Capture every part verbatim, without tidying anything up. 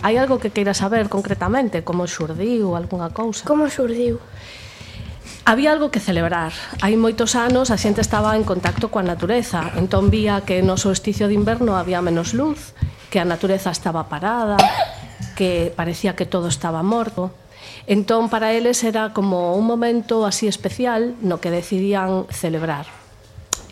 Hai algo que queira saber concretamente, como xurdiu, algunha cousa? Como xurdiu? Había algo que celebrar. Hai moitos anos a xente estaba en contacto coa natureza, entón vía que no solsticio de inverno había menos luz, que a natureza estaba parada, que parecía que todo estaba morto. Entón para eles era como un momento así especial no que decidían celebrar.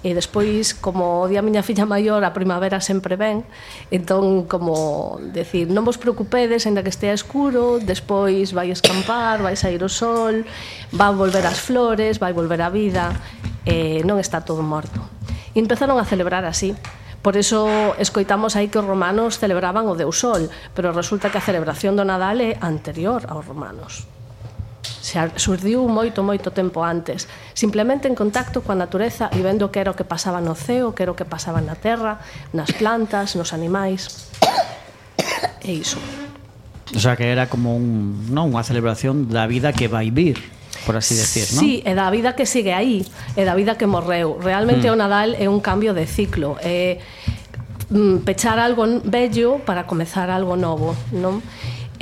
E despois, como di a miña filla maior, a primavera sempre ven, entón, como decir, non vos preocupedes, ainda que estea escuro, despois vai escampar, vai sair o sol, vai volver as flores, vai volver a vida, e non está todo morto. E empezaron a celebrar así. Por iso escoitamos aí que os romanos celebraban o Deus Sol, pero resulta que a celebración do Nadal é anterior aos romanos. Surdiu moito, moito tempo antes, simplemente en contacto coa natureza e vendo que era o que pasaba no ceo, que era o que pasaba na terra, nas plantas, nos animais. E iso. O sea, que era como un, non, unha celebración da vida que vai vir, por así decir, non? Sí, e da vida que sigue aí, e da vida que morreu. Realmente mm. o Nadal é un cambio de ciclo, é mm, pechar algo vello para comezar algo novo, non?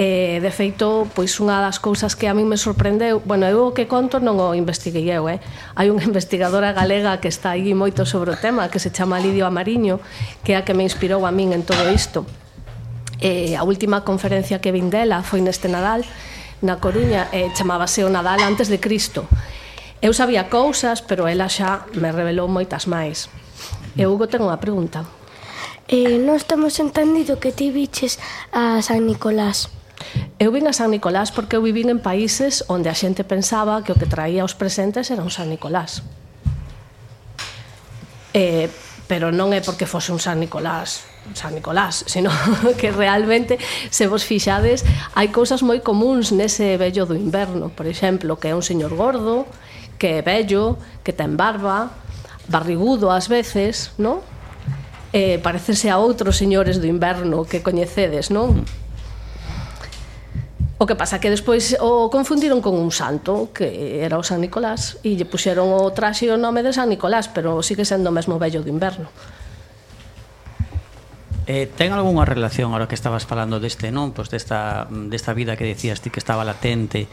E, de feito, pois unha das cousas que a mí me sorprendeu, bueno, eu o que conto non o investiguei eu, eh? Hai unha investigadora galega que está aí moito sobre o tema, que se chama Lidio Amariño, que é a que me inspirou a min en todo isto. E a última conferencia que vin dela foi neste Nadal, na Coruña, e chamábase o Nadal antes de Cristo. Eu sabía cousas, pero ela xa me revelou moitas máis. E Hugo ten unha pregunta. Eh, non estamos entendido que ti viches a San Nicolás. Eu vin a San Nicolás porque eu vivín en países onde a xente pensaba que o que traía os presentes era un San Nicolás. Eh, pero non é porque fose un San Nicolás, San Nicolás, sino que realmente, se vos fixades, hai cousas moi comuns nese vello do inverno. Por exemplo, que é un señor gordo, que é vello, que ten barba, barrigudo ás veces, non? Eh, parecese a outros señores do inverno que coñecedes, non? O que pasa que despois o confundiron con un santo, que era o San Nicolás, e lle puxeron o traxe e o nome de San Nicolás, pero sigue sendo o mesmo vello do inverno. Eh, ten algunha relación, ahora que estabas falando deste, non? Pois desta, desta vida que decías ti que estaba latente,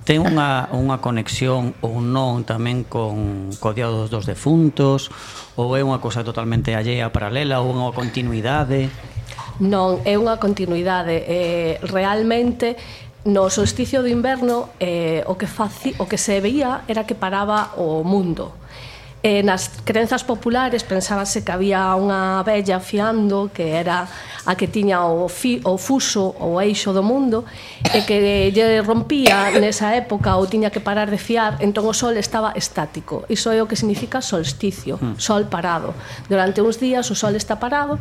ten unha, unha conexión ou non tamén con co Día dos dos Defuntos, ou é unha cosa totalmente allea, paralela, ou unha continuidade? Non, é unha continuidade. Eh, realmente, no solsticio do inverno, eh, o, que faci, o que se veía era que paraba o mundo. Eh, nas crenzas populares pensábase que había unha vella fiando que era a que tiña o, fi, o fuso, o eixo do mundo, e que lle rompía nesa época ou tiña que parar de fiar, entón o sol estaba estático. Iso é o que significa solsticio, sol parado. Durante uns días o sol está parado,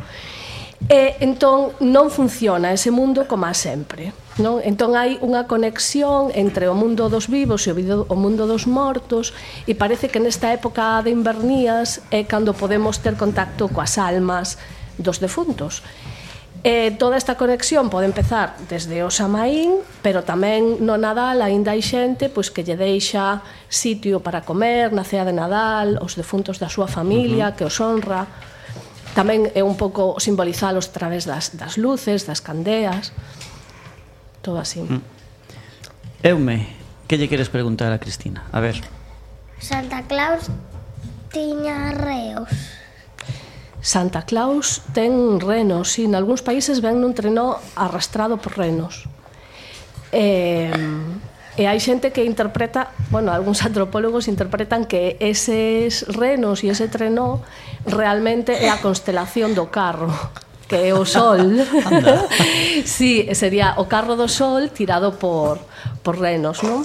e entón non funciona ese mundo como a sempre, non? Entón hai unha conexión entre o mundo dos vivos e o mundo dos mortos, e parece que nesta época de invernías é cando podemos ter contacto coas almas dos defuntos. E toda esta conexión pode empezar desde o Samaín, pero tamén no Nadal aínda hai xente pois que lle deixa sitio para comer na cea de Nadal aos defuntos da súa familia, uh-huh. que os honra. Tamén é un pouco simbolizalos a través das, das luces, das candeas, todo así. Mm. Eume, que lle queres preguntar a Cristina? A ver. Santa Claus tiña reos. Santa Claus ten renos, sí, en algúns países ven nun treno arrastrado por renos. E, e hai xente que interpreta, bueno, algúns antropólogos interpretan que eses renos e ese treno realmente é a constelación do carro, que é o sol. Sí, sería o carro do sol tirado por, por renos, non?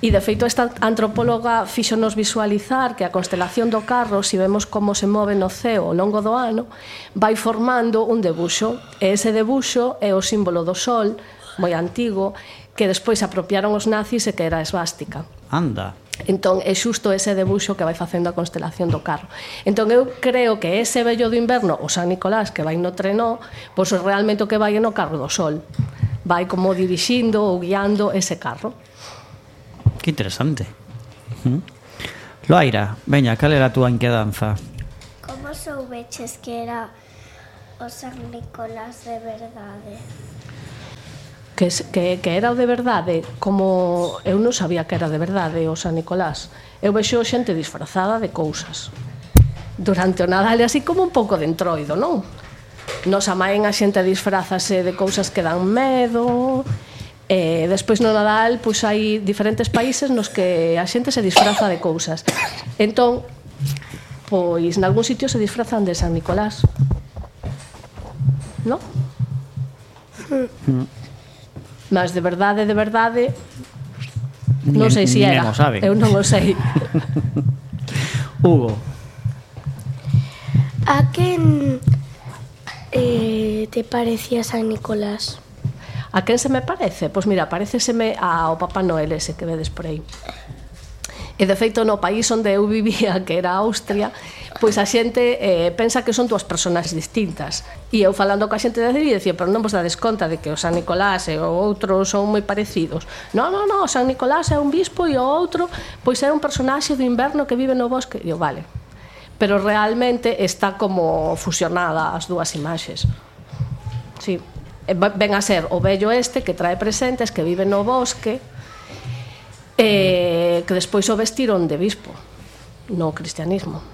E, de feito, esta antropóloga fíxonos visualizar que a constelación do carro, se vemos como se move no ceo ao longo do ano, vai formando un debuxo. E ese debuxo é o símbolo do sol, moi antigo, que despois apropiaron os nazis e que era a esvástica. Anda. Entón, é xusto ese debuxo que vai facendo a constelación do carro. Entón, eu creo que ese vello do inverno, o San Nicolás, que vai no treno, pois realmente o que vai é no carro do sol. Vai como dirixindo ou guiando ese carro. Que interesante. Uh-huh. Loaira, veña, cal era a túa inquedanza? Como soubeches que era o San Nicolás de verdade? que, que, que era o de verdade, como eu non sabía que era de verdade o San Nicolás. Eu vexo xente disfrazada de cousas durante o Nadal, así como un pouco de entroido, non? Nos amaen a xente disfrazase de cousas que dan medo. E despois no Nadal pois hai diferentes países nos que a xente se disfraza de cousas. Entón, pois nalgún sitio se disfrazan de San Nicolás, non? Mm. Mas de verdade, de verdade non sei se era. Eu non o sei. Hugo, a quen eh, te parecía San Nicolás? A quen se me parece? Pois mira, pareceseme ao Papá Noel ese que vedes por aí. E de feito no país onde eu vivía, que era Austria, pois a xente eh, pensa que son dúas personas distintas. E eu falando coa xente de allí decía, pero non vos dades conta de que o San Nicolás e o outro son moi parecidos. Non, non, non, o San Nicolás é un bispo e o outro pois é un personaxe do inverno que vive no bosque. E eu, vale. Pero realmente está como fusionada as dúas imaxes. Sí. Ven a ser o vello este que trae presentes, que vive no bosque, eh, que despois o vestiron de bispo no cristianismo.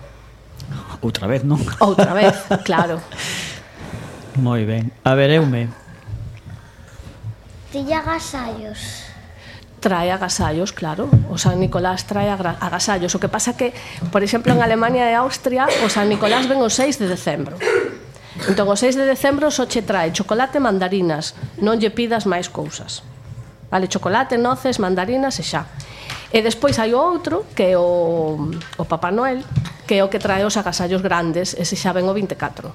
Outra vez, non? Outra vez, claro. Moi ben. A ver, eume. Tiña agasallos. Trae agasallos, claro. O San Nicolás trae agasallos. O que pasa que, por exemplo, en Alemania e Austria, o San Nicolás ven o seis de decembro. Entón, o seis de decembro só che trae chocolate e mandarinas. Non lle pidas máis cousas. Vale, chocolate, noces, mandarinas e xa. E despois hai o outro, que é o, o Papá Noel, que é o que trae os agasallos grandes, ese xa ven o vinte e catro.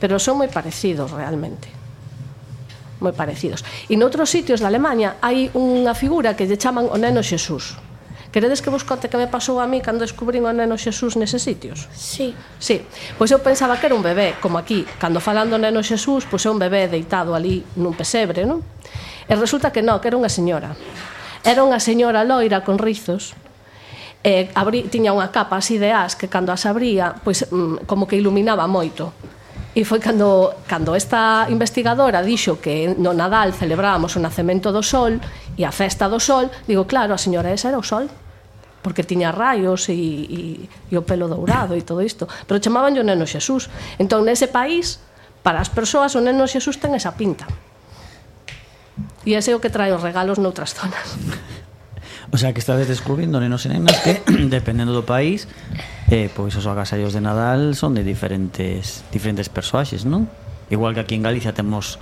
Pero son moi parecidos, realmente. Moi parecidos. E noutros sitios da Alemanha hai unha figura que lle chaman o Neno Xesús. Queredes que vos conte que me pasou a mí cando descubrín o Neno Xesús neses sitios? Sí. Sí, pois eu pensaba que era un bebé, como aquí, cando falan do Neno Xesús, pois é un bebé deitado ali nun pesebre, non? E resulta que non, que era unha señora. Era unha señora loira con rizos, e abrí, tiña unha capa así de as que cando as abría, pois mm, como que iluminaba moito. E foi cando, cando esta investigadora dixo que no Nadal celebrábamos o nacemento do Sol e a festa do Sol, digo, claro, a señora esa era o Sol, porque tiña raios e, e, e o pelo dourado e todo isto, pero chamaban o Neno Xesús. Entón, nese país, para as persoas, o Neno Xesús ten esa pinta. E ese é o que trae os regalos noutras zonas. O sea, que estades descubrindo, nenos e nenas, que dependendo do país, eh, pois os agasallos de Nadal son de diferentes diferentes persoaxes, non? Igual que aquí en Galicia temos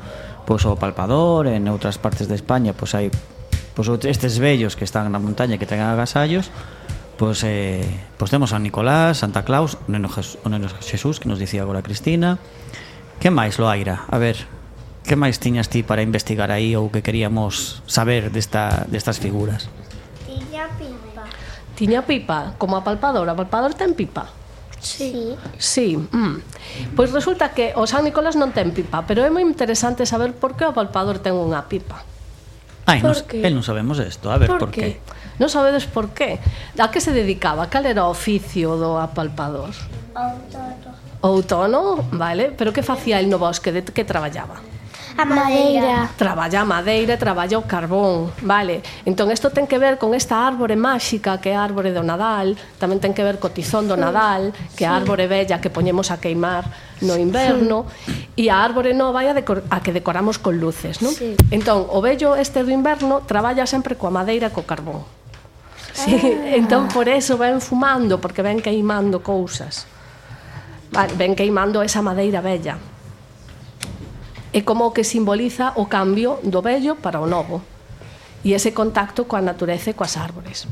pois o palpador, en outras partes de España pois hai pois estes vellos que están na montaña que ten agasallos, pois eh, pois temos a Nicolás, Santa Claus, o Neno Jesús, o Neno Xesús, que nos dicía agora Cristina. Que máis, Loaira? A ver, que máis tiñas ti para investigar aí ou que queríamos saber desta destas figuras? Tiña pipa. Tiña pipa, como a palpador. A palpador ten pipa. Sí. Sí. Mm. Pois resulta que o San Nicolás non ten pipa, pero é moi interesante saber por que o palpador ten unha pipa. Ai, nos, el non sabemos isto. A ver, por, por qué? Non sabedes por qué? A que se dedicaba? Cal era o oficio do apalpador? Outono. Outono, vale. Pero que facía el no bosque? De que traballaba? A madeira. Traballa a madeira, traballa o carbón, vale. Entón, isto ten que ver con esta árbore máxica que é a árbore do Nadal, tamén ten que ver co tizón do Nadal, que é a árbore bella que poñemos a queimar no inverno, e a árbore nova é a, decor- a que decoramos con luces, non? Sí. Entón, o vello este do inverno traballa sempre coa madeira e co carbón. Sí, ah. Entón, por eso ven fumando, porque ven queimando cousas. Vale, ven queimando esa madeira bella. É como que simboliza o cambio do vello para o novo e ese contacto coa natureza e coas árbores.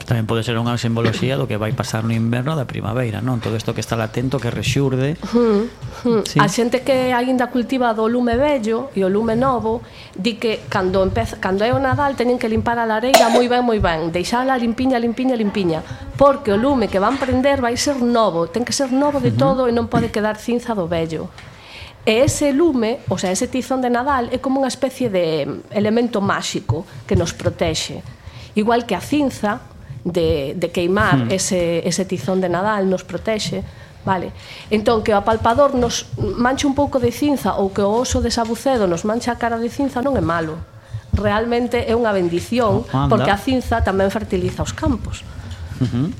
Tamén pode ser unha simboloxía do que vai pasar no inverno da primavera, non? Todo isto que está latento, que rexurde. Hmm, hmm. Sí. A xente que aínda cultiva do lume vello e o lume novo di que cando, empeza, cando é o Nadal teñen que limpar a lareira moi ben, moi ben, deixala limpiña, limpiña, limpiña, porque o lume que van prender vai ser novo, ten que ser novo de todo e non pode quedar cinza do vello. E ese lume, o sea, ese tizón de Nadal é como unha especie de elemento máxico que nos protexe. Igual que a cinza de, de queimar mm. ese, ese tizón de Nadal nos protexe, Vale. Entón, que o apalpador nos manche un pouco de cinza ou que o oso de Sabucedo nos manche a cara de cinza non é malo. Realmente é unha bendición, Anda. porque a cinza tamén fertiliza os campos. Uh-huh.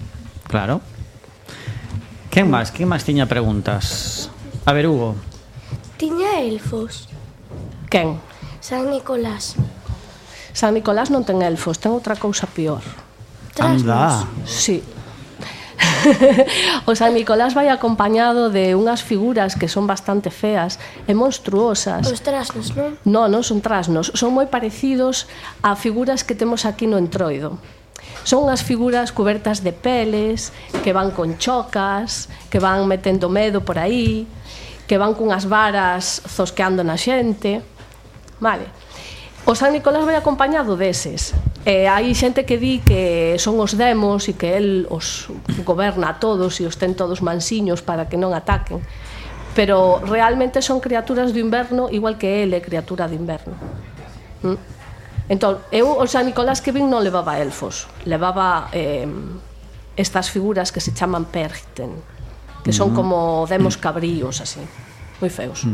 Claro. Quen máis? Quen máis tiña preguntas? A ver, Hugo. Tiña elfos. Quen? San Nicolás. San Nicolás non ten elfos, ten outra cousa pior. Anda. Sí. O San Nicolás vai acompañado de unhas figuras que son bastante feas e monstruosas. Os trasnos, non? Non, non son trasnos, son moi parecidos a figuras que temos aquí no Entroido. Son unhas figuras cubertas de peles, que van con chocas, que van metendo medo por aí, que van cunhas varas zosqueando na xente. Vale. O San Nicolás vai acompañado deses. E hai xente que di que son os demos e que el os goberna a todos e os ten todos mansiños para que non ataquen. Pero realmente son criaturas do inverno igual que el é criatura do inverno. ¿Mm? Entón, eu o San Nicolás que vin non levaba elfos, levaba eh, estas figuras que se chaman Perchten, que son como demos cabríos así, moi feos.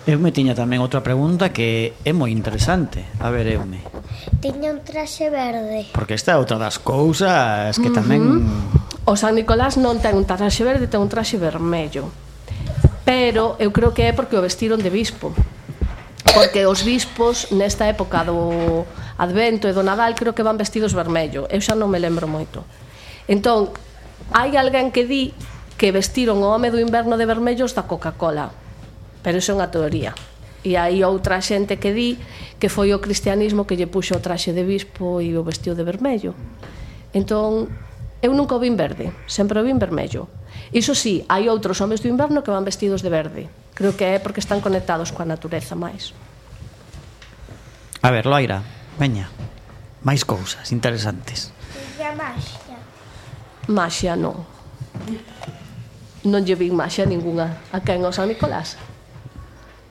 Eu me tiña tamén outra pregunta que é moi interesante. A ver, Eume. Tiña un traxe verde. Porque esta é outra das cousas que tamén... O San Nicolás non ten un traxe verde, ten un traxe vermello. Pero eu creo que é porque o vestiron de bispo. Porque os bispos nesta época do Advento e do Nadal creo que van vestidos vermello. Eu xa non me lembro moito. Entón, hai alguén que di que vestiron o home do inverno de vermellos da Coca-Cola. Pero iso é unha teoría. E hai outra xente que di que foi o cristianismo que lle puxo o traxe de bispo e o vestiu de vermello. Entón, eu nunca o vin verde, sempre o vin vermello. Iso sí, hai outros homes do inverno que van vestidos de verde. Creo que é porque están conectados coa natureza máis. A ver, Loira, veña. Máis cousas interesantes. Tiña maxia. Maxia non. Non lle vin maxia ninguna. A quen o San Nicolás?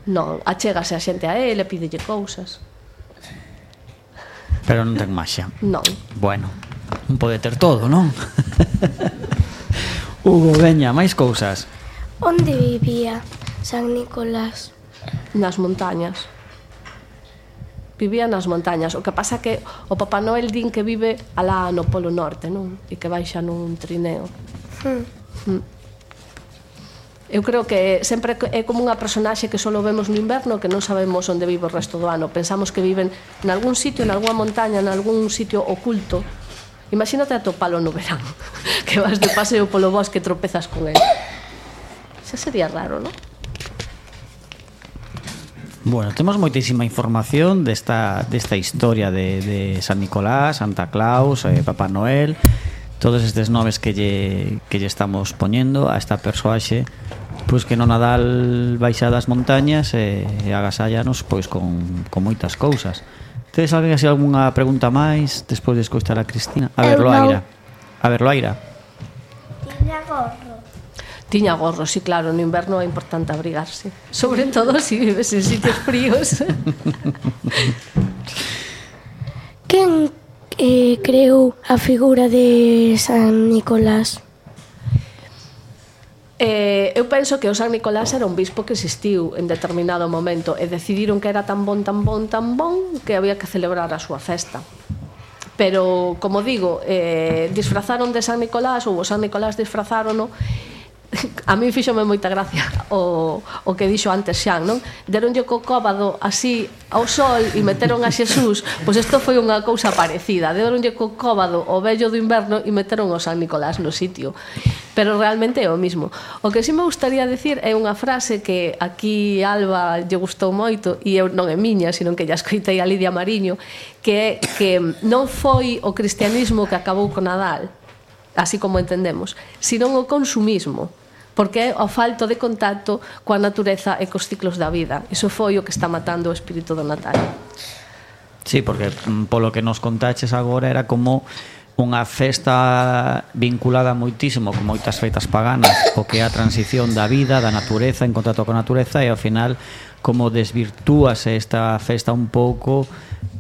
Non, achégase a xente a ele, pídelle cousas. Pero non ten maxia. Non. Bueno, non pode ter todo, non? Hugo, veña, máis cousas. Onde vivía San Nicolás? Nas montañas. Vivía nas montañas. O que pasa que o Papá Noel din que vive alá no Polo Norte, non? E que baixa nun trineo. Hmm. Mm. Eu creo que sempre é como unha personaxe que só vemos no inverno, que non sabemos onde vive o resto do ano. Pensamos que viven en algún sitio, en algunha montaña, en algún sitio oculto. Imagínate atopalo no verán, que vas de paseo polo bosque e tropezas con ele. Xa sería raro, non? Bueno, temos moitísima información desta, desta historia de, de San Nicolás, Santa Claus, eh, Papá Noel, todos estes nomes que lle, que lle estamos poñendo a esta persoaxe, pois que no Nadal baixa das montañas e, e agasallanos pois con, con moitas cousas. Tedes alguén así algunha pregunta máis despois de escoitar a Cristina? A ver, Eu Loaira. A ver, Loaira. Tiña gorro. Tiña gorro, sí, claro, no inverno é importante abrigarse. Sobre todo se si vives en sitios fríos. Quen eh, creou a figura de San Nicolás? Eh, eu penso que o San Nicolás era un bispo que existiu en determinado momento e decidiron que era tan bon, tan bon, tan bon que había que celebrar a súa festa. Pero, como digo, eh, disfrazaron de San Nicolás ou o San Nicolás disfrazárono. A mí fíxome moita gracia o, o que dixo antes Xan, non? Deronlle co cóbado así ao sol e meteron a Xesús. Pois isto foi unha cousa parecida. Deronlle co cóbado o vello do inverno e meteron o San Nicolás no sitio. Pero realmente é o mismo. O que sí me gustaría decir é unha frase que aquí Alba lle gustou moito e eu non é miña, sino que lla escoitei a Lidia Mariño, que é que non foi o cristianismo que acabou co Nadal, así como entendemos, sino o consumismo, porque é o falto de contacto coa natureza e cos ciclos da vida. Iso foi o que está matando o espírito do Natal. Sí, porque polo que nos contaches agora era como unha festa vinculada moitísimo con moitas feitas paganas, o que é a transición da vida, da natureza, en contacto con a natureza, e ao final como desvirtúase esta festa un pouco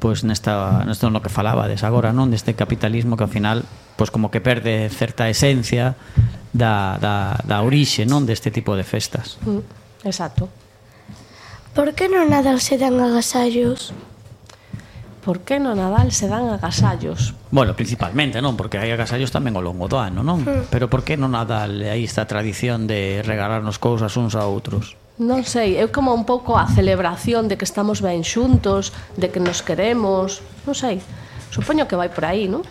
pois nesta, nesto no que falabades agora, non? Deste capitalismo que ao final pois como que perde certa esencia da, da, da orixe, non, deste tipo de festas. Mm, exacto. Por que no Nadal se dan agasallos? Por que no Nadal se dan agasallos? Bueno, principalmente, non? Porque hai agasallos tamén ao longo do ano, non? Mm. Pero por que no Nadal hai esta tradición de regalarnos cousas uns a outros? Non sei, é como un pouco a celebración de que estamos ben xuntos, de que nos queremos, non sei. Supoño que vai por aí, non?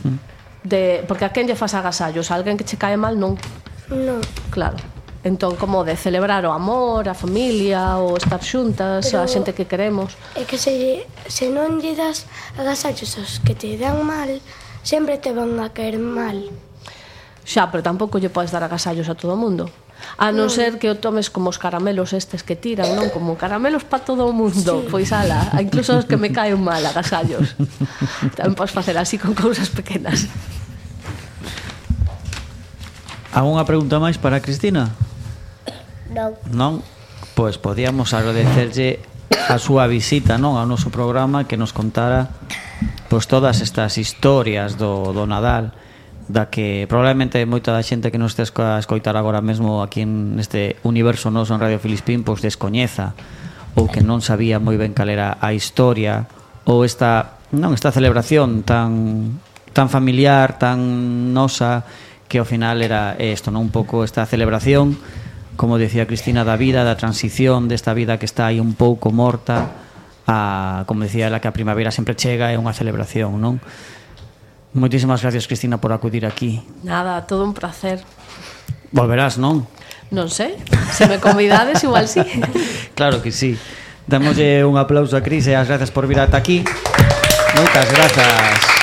Mm. De, porque a quen lle fas agasallos? A alguén que che cae mal, non? Non. Claro. Entón, como de celebrar o amor, a familia, o estar xuntas, Pero a xente que queremos. É que se, se non lle das agasallos aos que te dan mal, sempre te van a caer mal. Xa, pero tampouco lle podes dar agasallos a todo o mundo. A non ser que o tomes como os caramelos estes que tiran, non? Como caramelos para todo o mundo. Sí. Pois ala, incluso os que me caen mal, agasallos. Tamén podes facer así con cousas pequenas. Alguna pregunta máis para Cristina? Non. Non? Pois podíamos agradecerlle a súa visita, non, ao noso programa, que nos contara pois todas estas historias do, do Nadal, da que probablemente moita da xente que nos este a escoitar agora mesmo aquí neste universo noso en Radio Filispín pois descoñeza ou que non sabía moi ben cal era a historia ou esta, non, esta celebración tan tan familiar, tan nosa, que ao final era isto, non, un pouco esta celebración, como decía Cristina, da vida, da transición desta vida que está aí un pouco morta a, como decía ela, que a primavera sempre chega, é unha celebración, non? Moitísimas gracias, Cristina, por acudir aquí. Nada, todo un placer. Volverás, non? Non sei, se me convidades igual sí. Claro que sí. Damoslle un aplauso a Cris e as gracias por vir ata aquí. Moitas grazas.